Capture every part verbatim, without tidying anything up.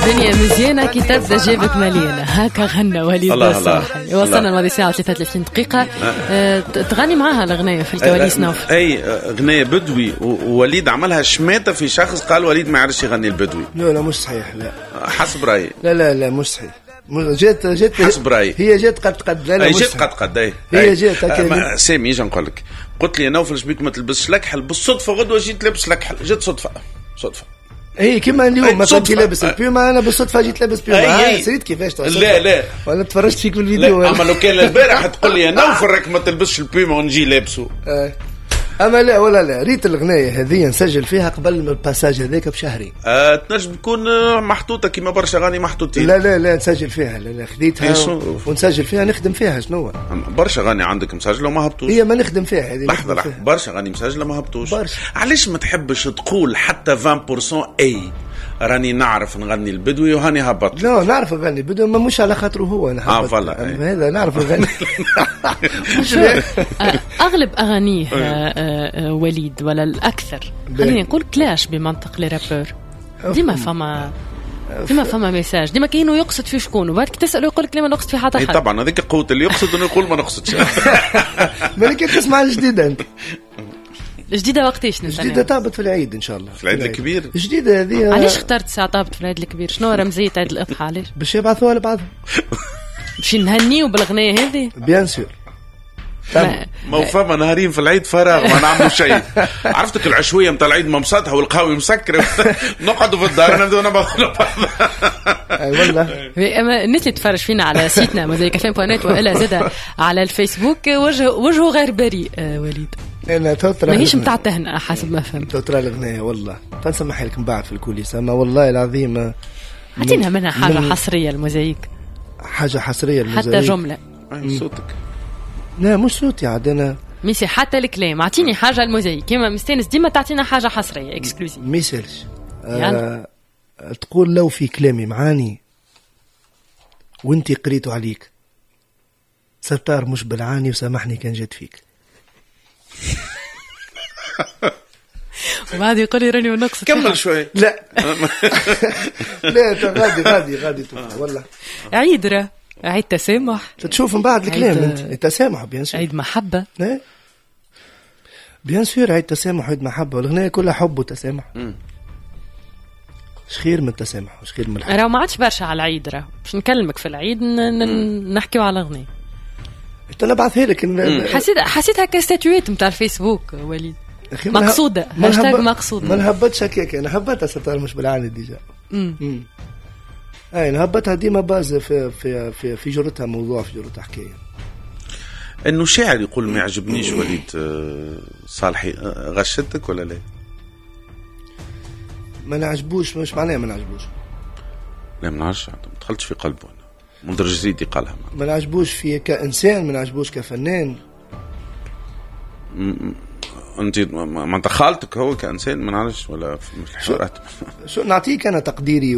الدنيا مزيانة كي تبدا جيبك مليانة، هكا غنى وليد الصالحي. وصلنا الماضي ساعة وثلاثة وثلاثين دقيقة. أه تغني معاها الأغنية في الكواليس نوف؟ أي أغنية بدوي، ووليد عملها شماتة في شخص قال وليد ما يعرفش يغني البدوي. لا لا مش صحيح، لا حسب رأيي. لا لا لا مش صحيح. جات جات حسب رأيي، هي جات قد قد. لا لا جات قد قد. أي هي جات هكا. سامي اجي نقول لك، قلت لي نوفل شبيك ما تلبسش لكحل، بالصدفة غدوة جيت لابس لكحل، جات صدفة صدفة. اي كيما اليوم مثلا كي لابس البيوما، انا بالصدفة جيت لابس بيوما. سريت كيفاش؟ لا لا وانا تفرجت فيك في الفيديو. اما لو كان البارح تقول لي نوفل راك ما تلبسش البيوما ونجي لابسه. اما لا ولا لا، ريت الغنايه هذه نسجل فيها قبل من ال passage هذاك بشهرين. أه تنجم تكون محطوطة كيما برشا غاني محطوطين. لا لا لا نسجل فيها، لا لا خذيتها ونسجل فيها، نخدم فيها. شنو برشا غاني عندك مسجله وما هبطوش؟ هي ما نخدم فيها هذه. لحظة لحظة، برشا غاني مسجله ما هبطوش. علاش ما تحبش تقول حتى عشرين بالمية اي راني نعرف نغني البدوي وهاني هبط؟ لا نعرف نغني البدوي، ما مش على خاطره هو انا هبط. اه voilà هذا نعرف نغني. اغلب اغانيه وليد ولا الاكثر خليني نقول clash بمنطق les rappeurs، ديما فما ديما فما message، ديما كاينو يقصد في شكون، وبعد كي تساله يقول لك لا ما نقصد في حتى حد. طبعا هذيك قوة اللي يقصد انه يقول ما نقصدش. مالك تسمع الجديدة انت؟ الجديدة وقتاش نستنى؟ الجديدة تهبط في العيد إن شاء الله. في العيد الكبير؟ الجديدة هذه. علاش اخترت ساعة تهبط في العيد الكبير؟ شنو رمزية عيد الأضحى علاش؟ باش يبعثوها لبعضهم. باش نهنيو بالأغنية هذه؟ bien sûr. ما فما نهارين في العيد فراغ ما نعملوا شيء. عرفتك العشوية متاع العيد ممسطها والقهوة مسكرة، نقعدوا في الدار نبداو نبعثوا لبعض. اي والله. اما الناس اللي تتفرج فينا على site نا موزايك اف ام point net والا زاد على الفيسبوك، وجه وجهه غير بريء وليد. انا تطرى ماهيش متاع تهنئة حسب ما فهمت. تطرى الاغنية والله تنسمح لكم بعد في ال coulisses، اما والله العظيم عطينا منها حاجة من حصرية الموزايك، حاجة حصرية الموزايك، حتى جملة. صوتك لا مش صوتي عاد انا ميسي، حتى الكلام اعطيني حاجة الموزايك كيما مستانس ديما تعطينا حاجة حصرية exclusive. ميسالش آه تقول لو في كلامي معاني وانتي قريته عليك ستار مش بالعاني وسامحني كان جات فيك. وبعد يقول لي راني ونقص. كمل شوي. لا لا غادي غادي غادي والله عيد راه عيد تسامح، تشوف من بعد الكلام انت التسامح bien sûr، عيد محبة bien sûr، عيد تسامح عيد محبة، والأغنية كلها حب وتسامح. اش خير من التسامح واش خير من الحب؟ راه ما عادش برشا على العيد، راه باش نكلمك في العيد نحكيو على الاغنية. انت نبعثها لك. حسيت حسيت هكا statut نتاع الفيسبوك وليد مقصوده، هاشتاج مقصود. ما نهبطش هكاك، انا هبطها ستار مش بالعاني déjà. امم اي نهبطها ديما باز في في في في جرتها موضوع، في جرتها حكاية. انه شاعر يقول ما يعجبنيش وليد صالحي، غشتك ولا لا؟ ما نعجبوش مش معناها ما نعجبوش. لا ما نعرفش، ما دخلتش في قلبه انا. منذر الجريدي قالها. ما نعجبوش في كإنسان، ما نعجبوش كفنان. انت ما انت خالتك هو كإنسان ما نعرفش ولا في الحوارات. شو نعطيك انا تقديري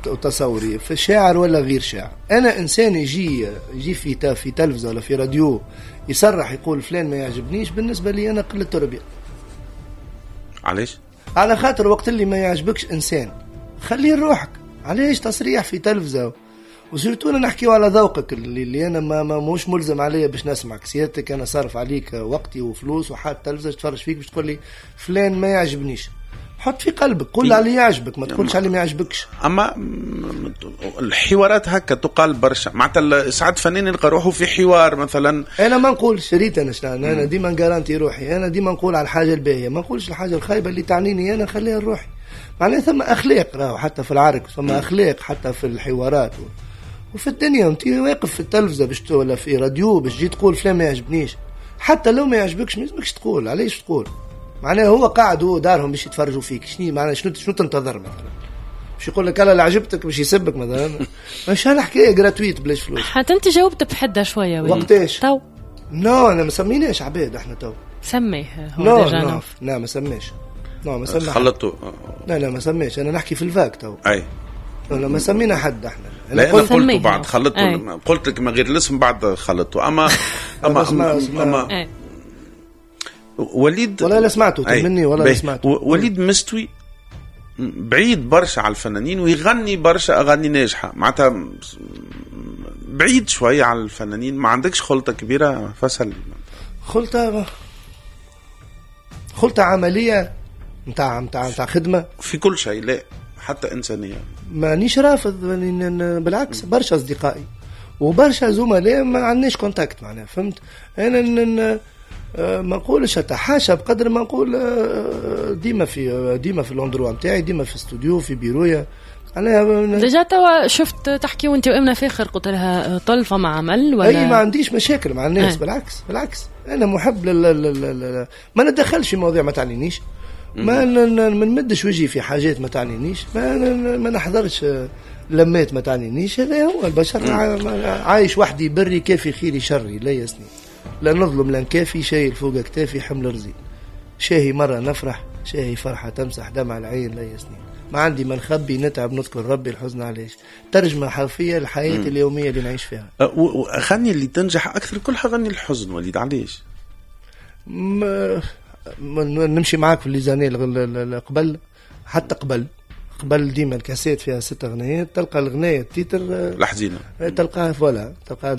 وتصوري في شاعر ولا غير شاعر. انا انسان يجي يجي في في تلفزه ولا في راديو يصرح يقول فلان ما يعجبنيش، بالنسبة لي انا قلة تربيه. علاش؟ على خاطر وقت اللي ما يعجبكش انسان خليه لروحك، علاش تصريح في تلفزه؟ و surtout انا نحكيو على ذوقك اللي, اللي انا ما, ما موش ملزم عليا باش نسمعك سيادتك، انا صارف عليك وقتي وفلوس وحاط تلفزه تفرج فيك باش تقول لي فلان ما يعجبنيش. حط في قلبك قول على يعجبك، ما تقولش على ما يعجبكش. اما الحوارات هكا تقال برشا، معناتها ساعات فنان يلقى روحه في حوار مثلا. انا ما نقولش شريت انا شنو، انا ديما ن garanti روحي، انا ديما نقول على الحاجة الباهيه، ما نقولش الحاجة الخايبة اللي تعنيني انا خليها لروحي. معناها ثم اخلاق راهو حتى في العرك، ثم اخلاق حتى في الحوارات و... وفي الدنيا. انت واقف في التلفزة باش ولا في راديو باش تجي تقول فلان ما يعجبنيش، حتى لو ما يعجبكش ما يلزمكش تقول. علاش تقول؟ معناها هو قاعد هو دارهم باش يتفرجوا فيك، شنو معناها؟ شنو شنو تنتظر مثلا؟ باش يقول لك انا اللي عجبتك باش يسبك مثلا؟ مش هالحكايه gratuite بلاش فلوس. حتى انت جاوبت بحده شوية وقتاش؟ تو non انا ما سميناش عباد احنا تو. سميه هو déjà نوف. لا ما سميش، non ما سميش خلطوا. لا لا ما سميش، انا نحكي في ال vague تو. اي لا ما سمينا حد احنا. لا انا قلت بعد خلطته، قلت لك من غير الاسم بعد خلطته. اما اما اما, أما وليد ولا لا سمعته مني ولا لا سمعته. وليد مستوي بعيد برشا على الفنانين ويغني برشا اغاني ناجحة، معناتها بعيد شوية على الفنانين. ما عندكش خلطه كبيرة فصل؟ خلطه خلطه عملية نتاع نتاع نتاع خدمة في كل شيء، لا حتى انسانيه. مانيش رافض، بالعكس برشا اصدقائي وبرشا زملاء ما عندناش contact معناها، فهمت؟ انا ما نقولش اتحاشى بقدر ما نقول ديما في ديما في l'endroit نتاعي، ديما في استوديو، في بيرويا. انا déjà توا شفت تحكي وانت وامنا فاخر، قلت لها طل فما عمل ولا؟ اي ما عنديش مشاكل مع الناس. أي. بالعكس بالعكس انا محب لل... لل... ما ندخلش في مواضيع ما تعنينيش، ما ما نمدش وجهي في حاجات ما تعنينيش، ما ما نحضرش لمات ما تعنينيش. هذا هو البشر، عايش وحدي بري كافي خيري شري لا يسني، لا نظلم لا نكافي، شايل فوق اكتافي حمل رزين، شاهي مرة نفرح شاهي فرحة تمسح دمع العين لا يسني، ما عندي ما نخبي نتعب نذكر ربي الحزن علاش. ترجمة حرفية للحياة اليومية اللي نعيش فيها. وأغاني اللي تنجح أكثر كلها غني الحزن وليد، علاش؟ ما نمشي معاك في les années قبل، حتى قبل قبل ديما الكاسيت فيها ست اغنيات، تلقى الغنايه ال titre الحزينة، تلقاها voilà، تلقاها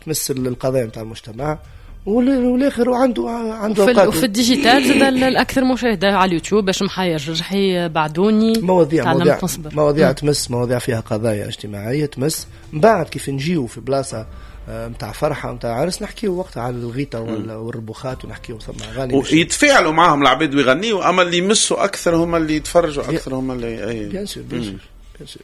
تمس القضايا نتاع المجتمع، والاخر وعنده عنده وفي, وفي ال digital زاد الاكثر مشاهده على اليوتيوب باش محير جرحي بعدوني مواضيع مواضيع مواضيع تمس، مواضيع فيها قضايا اجتماعية تمس. من بعد كيف نجيو في بلاصة نتاع فرحه نتاع عرس نحكيو وقتها على الغيطه والربوخات ونحكيو ثم اغاني ويتفاعلوا معاهم العباد ويغنيوا، اما اللي يمسوا اكثر هما اللي يتفرجوا اكثر هما اللي اي bien sûr bien sûr bien sûr.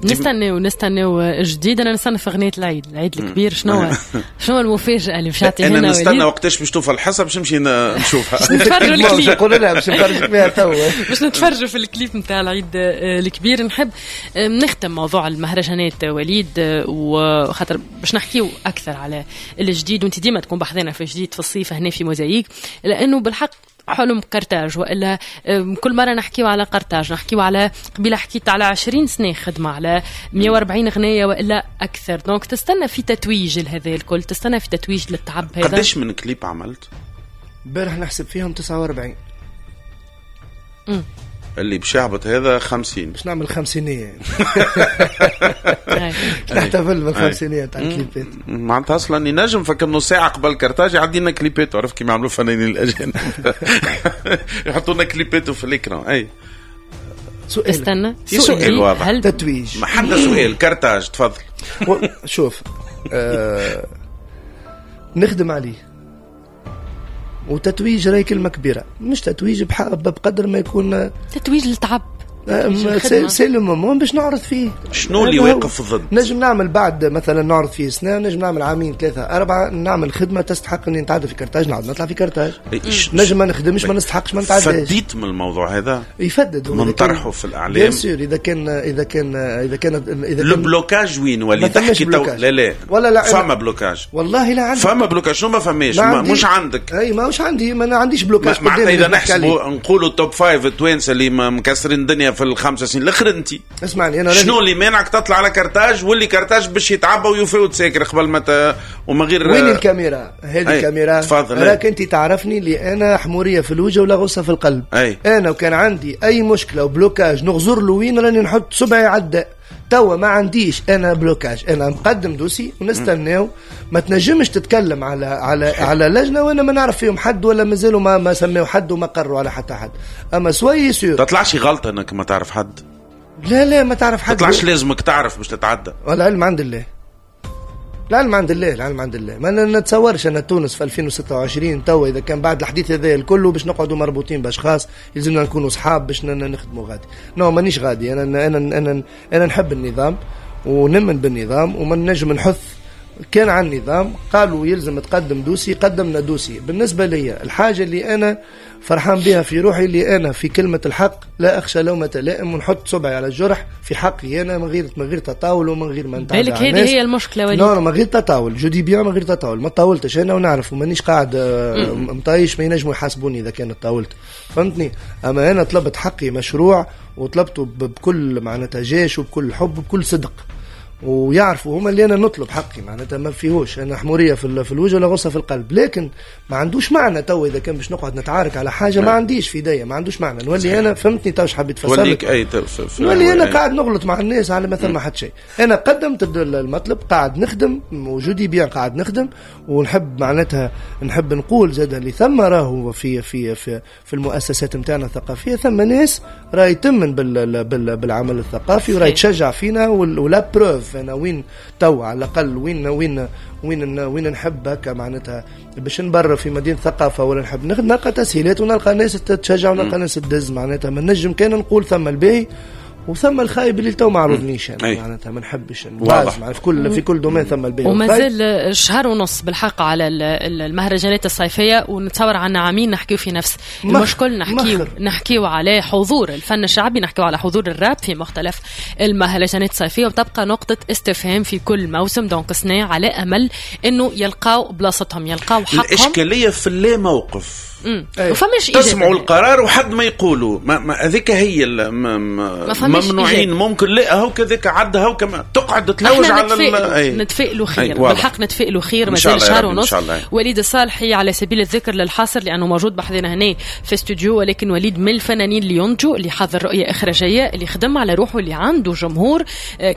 نستناو نستناو جديد. انا نستنى في اغنية العيد، العيد الكبير. شنو شنو المفاجاة اللي باش تعطيها لنا؟ انا نستنى وقتاش باش توفى الحصة باش نمشي نشوفها، نتفرجوا الكليب. نقول لها باش نتفرج فيها توا، باش نتفرجوا في الكليب نتاع العيد الكبير. نحب نختم موضوع المهرجانات وليد، وخاطر باش نحكيو اكثر على الجديد، وانت ديما تكون بحذنا في جديد في الصيف هنا في موزايك، لانه بالحق حلم قرطاج، والا كل مرة نحكيو على قرطاج، نحكيو على قبيلة حكيت على عشرين سنة خدمة على مية وأربعين غنية والا اكثر. donc تستنى في تتويج لهذا الكل، تستنى في تتويج للتعب هذا. قداش من كليب عملت؟ امبارح نحسب فيهم تسعة وأربعين. امم اللي باش يهبط هذا خمسين، باش نعمل خمسينية نحتفل بالخمسينية تاع الكليبات. معناتها اصلا ينجم فك نص ساعة قبل كرتاج يعدينا كليبات، عرف كيما يعملوا فنانين الاجانب يحطوا لنا كليبات في ال écran. اي سؤال، استنى سؤال واضح، هل تتويج ما حتى سؤال كرتاج تفضل. شوف آه... نخدم عليه، وتتويج راهي كلمة كبيرة، مش تتويج بقدر ما يكون تتويج للتعب، c'est le moment باش نعرض فيه. شنو اللي واقف ضد؟ نجم نعمل بعد مثلا نعرض فيه سنة، نجم نعمل عامين ثلاثة أربعة، نعمل خدمة تستحق اني نتعدى في كرتاج، نعاود نطلع في كرتاج. نجم ما نخدمش ما نستحقش ما نتعداش. فديت من الموضوع هذا؟ يفدد من طرحه في الإعلام. bien sûr اذا كان اذا كان اذا كان اذا كان ال blocage وين ولي تحكي تو؟ لا لا ولا لا، فما blocage والله لا عندي، فما blocage. شنو ما فماش؟ مش عندك. اي ماهوش عندي، ما عنديش blocage. معناتها اذا نحسبوا نقولوا top five التوانسة اللي مكسرين الدنيا في الخمسة سنين الاخر، انت اسمعني انا شنو اللي مانعك تطلع على كرتاج واللي كرتاج باش يتعبى ويفوت ساكر قبل ما ت... وما غير وين الكاميرا؟ هذه الكاميرا راك انت تعرفني اللي انا حموريه في الوجه ولا غصة في القلب. أي. انا وكان عندي اي مشكلة و blocage نغزر له وين راني نحط صبعي عداء. توا ما عنديش انا blocage، انا مقدم dossier ونستناو. ما تنجمش تتكلم على على على لجنة وانا ما نعرف فيهم حد ولا مازالوا ما ما سميوا حد وما قروا على حتى حد. اما sois sûr تطلعش غلطه انك ما تعرف حد. لا لا ما تعرف حد، تطلعش لازمك تعرف باش تتعدى. العلم عند الله، العلم عند الله، العلم عند الله. ما نتصورش ان تونس في ألفين وستة وعشرين توا اذا كان بعد الحديث هذا الكل باش نقعدوا مربوطين باشخاص يلزمنا نكونوا صحاب باش نخدموا غادي. non مانيش غادي. انا انا انا انا نحب النظام ونمن بالنظام وما نجم نحث كان عن النظام. قالوا يلزم تقدم dossier، قدمنا dossier. بالنسبة لي الحاجة اللي أنا فرحان بها في روحي اللي أنا في كلمة الحق لا أخشى لومة لائم، ونحط صبعي على الجرح في حقي أنا من غير من غير تطاول ومن غير ما نتعدى. بالك هذه هي المشكلة وليد. non من غير تطاول، je dis bien من غير تطاول. ما تطاولتش أنا ونعرف ومانيش قاعد مطايش، ما ينجموا يحاسبوني إذا كان تطاولت، فهمتني؟ أما أنا طلبت حقي مشروع وطلبته بكل معناتها جيش وبكل حب وبكل صدق. ويعرفوا هما اللي انا نطلب حقي، معناتها ما فيهوش انا حموريه في في الوجه ولا غصة في القلب، لكن ما عندوش معنى تو اذا كان باش نقعد نتعارك على حاجة ما عنديش في ايديا، ما عندوش معنى. نولي انا فهمتني تو حبيت تفسر لك اي نولي انا قاعد نغلط مع الناس على مثلا ما حد شيء. انا قدمت المطلب، قاعد نخدم وجودي bien، قاعد نخدم ونحب معناتها نحب نقول زاد اللي ثم راهو في في في في المؤسسات نتاعنا الثقافية ثم ناس راهي تمن بال بال بالعمل الثقافي وراهي تشجع فينا، و la preuve انا وين تو على الاقل وين وين وين وين نحب هكا معناتها باش نبرر في مدينة ثقافة ولا نحب نلقى تسهيلات ونلقى ناس تشجع ونلقى ناس تدز، معناتها ما نجم كان نقول ثم الباهي وثم الخايب اللي تو ما عرضنيش انا، معناتها ما نحبش نباز في كل في كل domaine ثم الباهي. ومازال شهر ونص بالحق على المهرجانات الصيفية، ونتصور عنا عامين نحكيو في نفس المشكل، نحكيو نحكيو على حضور الفن الشعبي، نحكيو على حضور الراب في مختلف المهرجانات الصيفية، وتبقى نقطة استفهام في كل موسم. donc سنة على امل انه يلقاو بلاصتهم، يلقاو حقهم. الاشكالية في اللا موقف، وفماش تسمعوا القرار وحد ما يقولوا ما هذيك هي ممنوعين، ممكن لا هو كذاك عد هو كما تقعد تلوج على نتفائلوا خير بالحق، نتفائلوا خير. مازال شهر ونص. وليد الصالحي على سبيل الذكر للحصر لانه موجود بحذنا هنا في استوديو، ولكن وليد من الفنانين اللي ينتجوا، اللي حضر رؤية اخراجيه، اللي خدم على روحه، اللي عنده جمهور.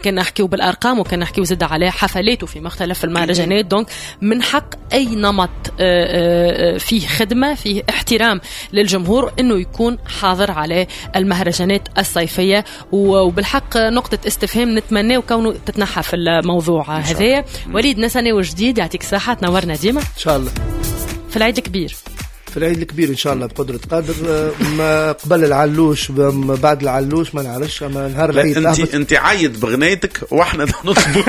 كان نحكيو بالارقام وكان نحكيو زاد على حفلاته في مختلف المهرجانات. donc من حق اي نمط فيه خدمة، فيه احترام للجمهور، انه يكون حاضر على المهرجانات الصيفية. وبالحق نقطة استفهام نتمنى كونه تتنحى في الموضوع هذا. وليد نسنة وجديد، يعطيك الصحة، تنورنا ديما ان شاء الله في العيد الكبير. في العيد الكبير ان شاء الله بقدره قادر، ما قبل العلوش بعد العلوش ما نعرفش، اما نهار العيد انت انت عيد بغنيتك واحنا نطلبوا.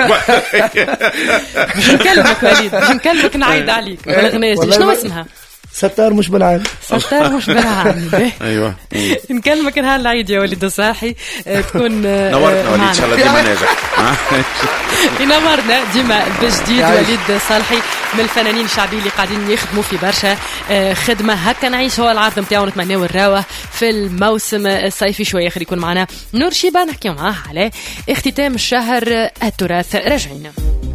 باش نكلمك وليد، باش نكلمك نعيد عليك بالغنايه. شنو اسمها؟ ستار مش بالعام. ستار مش بالعام. ايوه نكلمك نهار العيد يا وليد الصالحي، تكون نورتنا وليد ان شاء الله ديما ناجح. ينورنا ديما بجديد. وليد صالحي من الفنانين الشعبيين اللي قاعدين يخدموا في برشا خدمة هكا نعيش، هو العرض نتاعو نتمناو نراوه في الموسم الصيفي. شوية اخر يكون معنا نور شيبة نحكيو معاه على اختتام الشهر التراث. راجعين.